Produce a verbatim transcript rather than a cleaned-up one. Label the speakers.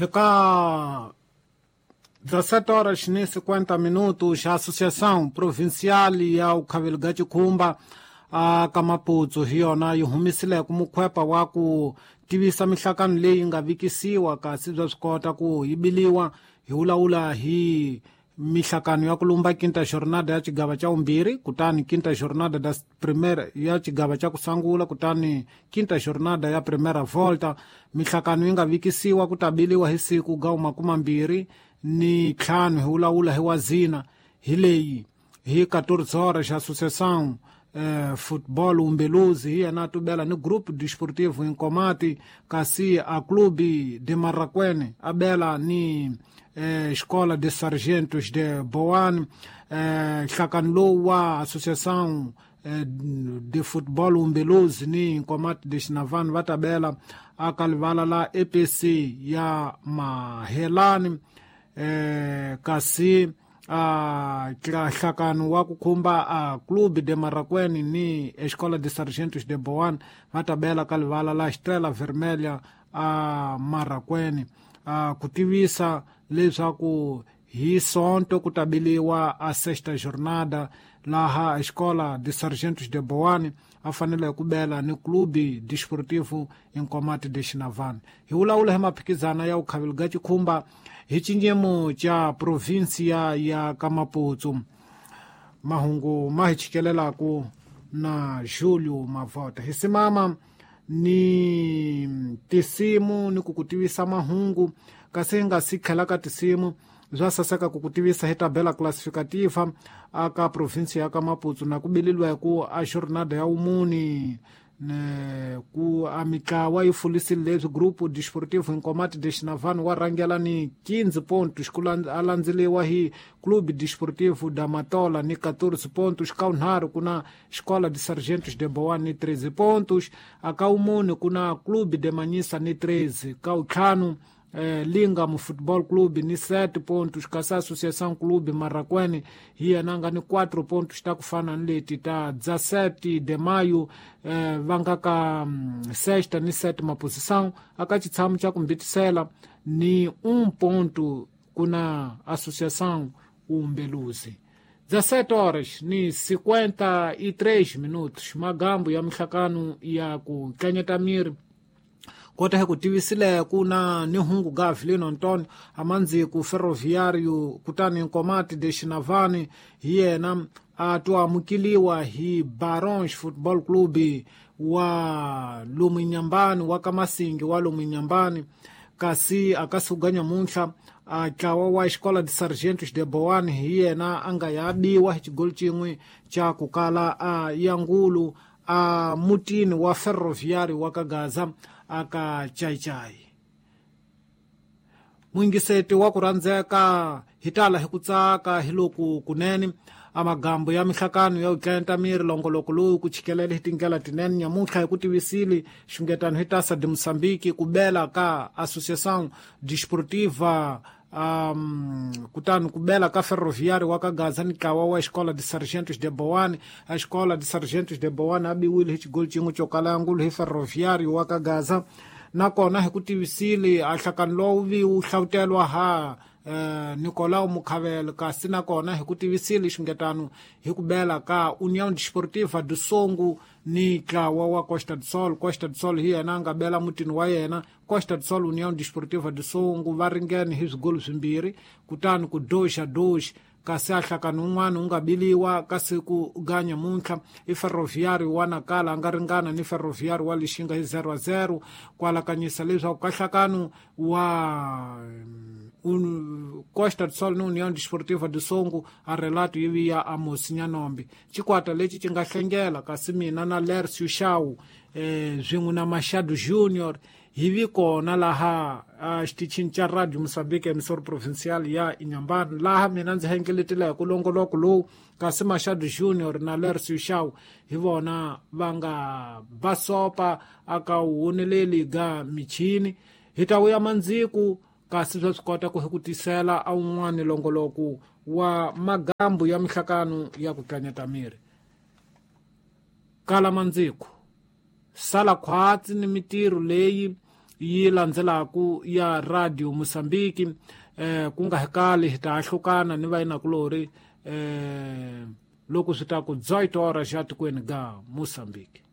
Speaker 1: Eka dezassete horas e cinquenta minutos, a Associação Provincial ya Ukhaveli ga Chikhumba a ka Maputo hi yona yi humisileke mukhwepa wa ku tivisa mihlakano leyi nga vikisiwa kasi bya swi kota ku yi biliwa hi vulavula hi mihlakano ya ku lumba quinta jornada ya xigava xa vumbirhi, kutani quinta jornada da primeira ya xigava xa ku sungula, kutani quinta jornada ya primeira volta. Mihlakano yi nga vikisiwa ku ta biliwa hi siku ga makumambirhi ni ntlhanu hi vulavula hi wazina hi leyi hi quatorze horas Associação eh, Futebol Umbeluzi hi yena tubela ni Grupo Desportivo Inkomati, kasi a Clube de Marraquene abela ni eh, Escola de Sargentos de Boane. eh, nhlakano lowu wa Associação eh, de Futebol Umbeluzi ni Inkomati de Xinavani va tabela aka livala la E P C ya Mahelani. Eh, kasi a nhlakano wa ku khumba a Clube de Marraquene ni Escola de Sargentos de Boane va tabela ka livala la Estrela Vermelha a Marraquene. A ku tivisa leswaku hi Sonto ku tabiliwa a sexta jornada laha Escola de Sargentos de Boane a fanele ku bela ni Clube Desportivo Inkomati de Xinavani. Hi vulavula hi maphikizana ya Ukhaveli ga Chikhumba hi xinyemo xa provinsia ya ka Maputo. Mahungu ma hi chikelelaku na Julio Mavota. Hi simama ni tisimu ni ku ku tivisa mahungu, kasi hi nga si tlhela ka tisimu bya saseka ku ku tivisa hi tabela classificativa aka provinsia ya ka Maputo na ku bileliwa hi ku a jornada ya wumuni ne ku a mitlawa yi fulisile leswi Grupo Desportivo Inkomati de Xinavani wa rhangela ni quinze pontos, ku a landzeliwa hi Clube Desportivo da Matola ni quatorze pontos, ka wunharhu ku na Escola de Sargentos de Boane ni treze pontos, aka wumune ku na Clube de Manhissa ni treze, ka wuntlhanu eh, Lingam Futebol Clube ni sete pontos, kasi Associação Clube Marraquene hi yena nga ni quatro pontos ta ku fana ni leti ta dezassete de maio eh, va nga ka sexta ni sétima posição. Aka xitshamo xa ku mbitisela ni um ponto ku na Associação Umbeluzi. dezassete horas ni cinquenta e três minutos, magambo ya mihlakano ya ku tlanyeta miri. Kota hi ku tivisile ku na ni hungu ga Avelino Antonio amandziku Ferroviário kutani Inkomati de Xinavani hi yena a to amukeliwa hi Barons Football Club wa Lomunyambani wa Kamasingi wa Lomunyambani, kasi akasuka nyamuntlha a ntlawa wa Escola de Sargentos de Boane hi yena a nga ya biwa hi xigolo xin'we xa ku kala a yangulu a mutini wa Ferroviário wa Kagaza aka Chaichai. Mwingiseti wa ku rhandzeka hi tala hi ku tsaka hi loku kunene amagambo ya mihlakano ya utlenta miri longoloko lowu ku chikelela hi tindlela tinene nyamuntlha hi ku tivisile xungetano hi Taça de Moçambique ku bela ka Associação Desportiva um, kutani ku bela ka Ferroviário wa Kagaza ni ntlawa wa Escola de Sargentos de Boane. A Escola de Sargentos de Boane a biwile hi xigolo xin'we xo kala ngulu hi Ferroviário wa Kagaza. Nakona hi ku tivisile a nhlakano lowu vi wu hlawutelwa ha eh, Nicolau Mukhavele, kasi nakona hi ku tivisile xungetano hi ku bela ka União Desportiva do Songo ni ntlawa wa Costa do Sol. Costa do Sol hi yena a nga bela mutini wa yena. Costa do Sol União Desportiva do Songo va ringene hi swigolo swimbirhi, kutani ku dois a dois, kasi a nhlakano wun'wana wu nga biliwa kasi ku ga nyamuntlha i Ferroviário wa Nacala a nga ringana ni Ferroviário wa Lixinga hi zero a zero, ku alakanyisa leswaku ka nhlakano wa un, Costa do Sol ni União Desportiva do Songo a relato yi vi ya Amos Nyanombe. Xikwata lexi xi nga hlengela kasi mina na Lercio Shaw eh, swin'we na Machado Junior hi vi kona laha a xitichini xa Radio Moçambique emissora provincial ya Inhambane, laha mina ndzi hengeletile hi ku longoloko lowu, kasi Machado Junior na Lercio Shaw hi vona va nga basopa aka woneleli ga michini. Hi ta vuya mandziku kasi swa swi kota ku hi ku tisela a wun'wani longoloko wa magambu ya mihlakano ya ku tlanyeta miri. Kala mandziku sala khwatsi ni mitirho leyi yi landzelaku ya Radio Mozambique. Eh, ku nga hekali hi ta ahlukana ni vayinakulori eh, loko swi ta ku dezoito horas xa tikweni ga Mozambique.